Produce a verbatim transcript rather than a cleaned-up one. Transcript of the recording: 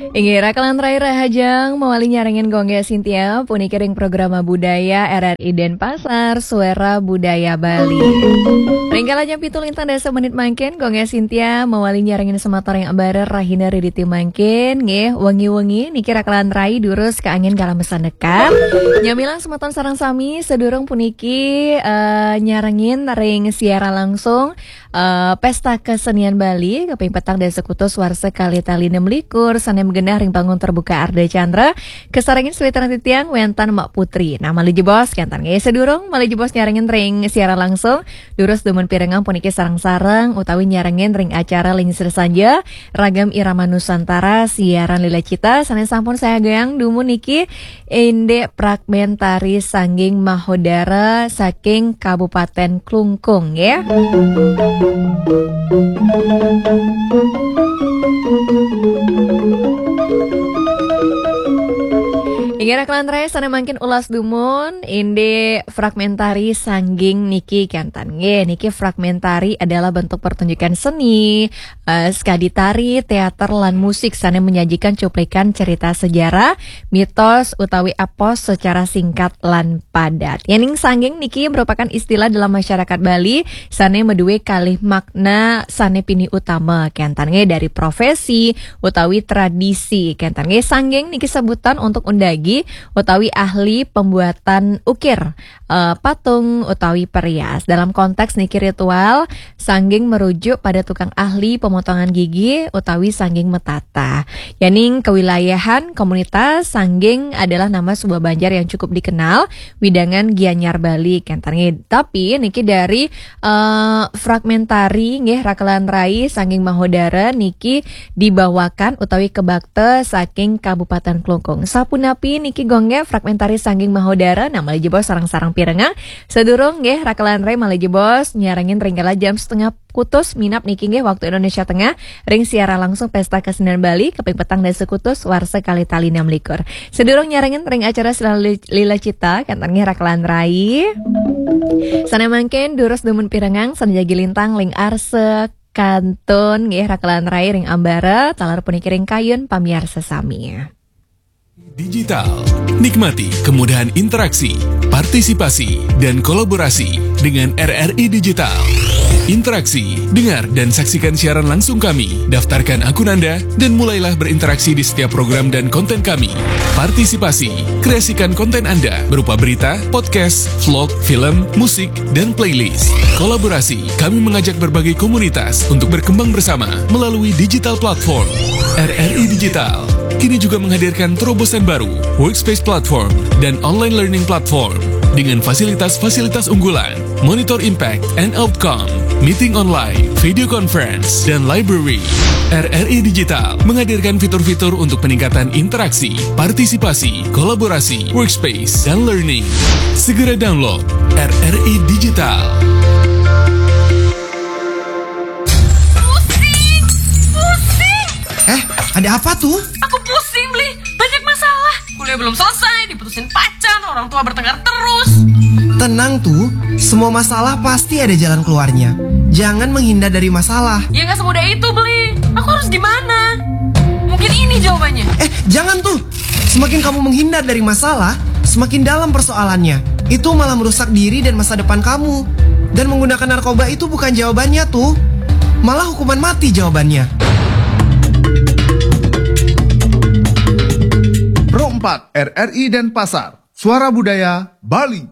Inggih, rakelan rai rahajeng mawali nyarengin Gung Gék Cynthia, puniki ring programa budaya R R I Denpasar, Suara Budaya Bali. Ring kala jam pitu lintang dasa menit mangkin, Gung Gék Cynthia mawali nyarengin semeton ring ambara rahina riditi mangkin, nggih, wengi-wengi niki rakelan rai durus kaanggén galah masandekan. Nyamilang semeton sareng sami, sadurung puniki, eh, nyarengin ring siaran langsung eh, Pesta Kesenian Bali, kaping petang dasa sekutus warsa kalih tali enam likur, sané magenah ring panggung terbuka Ardha Candra, kasarengin sawitran titiang wénten Mak Putri. Nah, malih jebos kénten nggih, sadurung malih jebos nyarengin ring siaran langsung, durus dumun pirengang puniki sareng-sareng utawi nyarengin ring acara Lingsir Sanja, Ragam Irama Nusantara, siaran Lila Cita, sané sampun sayagang dumun niki indik fragmentari Sangging Mahodara saking Kabupaten Klungkung, ya. Inggih rakelan rai, sané mangkin ulas dumun, indik fragmentari Sangging niki kénten. Nggih, niki fragmentari adalah bentuk pertunjukan seni, eh, sekadi tari, teater, lan musik sané menyajikan cuplikan cerita sejarah, mitos, utawi epos secara singkat lan padat. Yéning sangging niki merupakan istilah dalam masyarakat Bali sané madué kalih makna sané pinih utama, kénten nggih, dari profesi utawi tradisi, kénten nggih. Sangging niki sebutan untuk undagi utawi ahli pembuatan ukir, eh, patung utawi perias. Dalam konteks niki ritual, sangging merujuk pada tukang ahli pemotongan gigi utawi sangging metata. Yéning kewilayahan komunitas, sangging adalah nama sebuah banjar yang cukup dikenal widangan Gianyar Bali, kénten nggih. Tapi niki dari, eh, fragmentari nggih, rakelan rai Sangging Mahodara niki dibawakan utawi kebakta saking Kabupaten Klungkung. Sapunapi niki Gung Gék fragmentari Sangging Mahodara, nah malih jebos sareng-sareng pirengang. Sadurung nggih, rakelan rai malih jebos nyarengin ring kala jam setengah kutus minab niki nggih, waktu Indonesia Tengah, ring siaran langsung Pesta Kesenian Bali, kaping petang dasa sekutus warsa kalih tali enam likur. Sadurung nyarengin ring acara Siaran Li-, Lila Cita, kénten nggih rakelan rai. Sané mangkin durus dumun pirengang, sané jagi lintang ring arsa kantun nggih rakelan rai ring ambara, taler puniki ring kayun pamiarsa sami. Digital. Nikmati kemudahan interaksi, partisipasi, dan kolaborasi dengan R R I Digital. Interaksi, dengar dan saksikan siaran langsung kami. Daftarkan akun Anda dan mulailah berinteraksi di setiap program dan konten kami. Partisipasi, kreasikan konten Anda berupa berita, podcast, vlog, film, musik, dan playlist. Kolaborasi, kami mengajak berbagai komunitas untuk berkembang bersama melalui digital platform. R R I Digital kini juga menghadirkan terobosan baru, Workspace Platform dan Online Learning Platform, dengan fasilitas-fasilitas unggulan, Monitor Impact and Outcome, Meeting Online, Video Conference, dan Library. R R I Digital menghadirkan fitur-fitur untuk peningkatan interaksi, partisipasi, kolaborasi, workspace, dan learning. Segera download R R I Digital. Pusing, pusing. Eh, ada apa tuh? Aku pusing, Bli. Banyak masalah. Kuliah belum selesai, diputusin pacar, orang tua bertengkar terus. Tenang tuh, semua masalah pasti ada jalan keluarnya. Jangan menghindar dari masalah. Ya nggak semudah itu, Bli. Aku harus gimana? Mungkin ini jawabannya. Eh, jangan tuh. Semakin kamu menghindar dari masalah, semakin dalam persoalannya. Itu malah merusak diri dan masa depan kamu. Dan menggunakan narkoba itu bukan jawabannya tuh. Malah hukuman mati jawabannya. Pro empat R R I Denpasar, Suara Budaya Bali.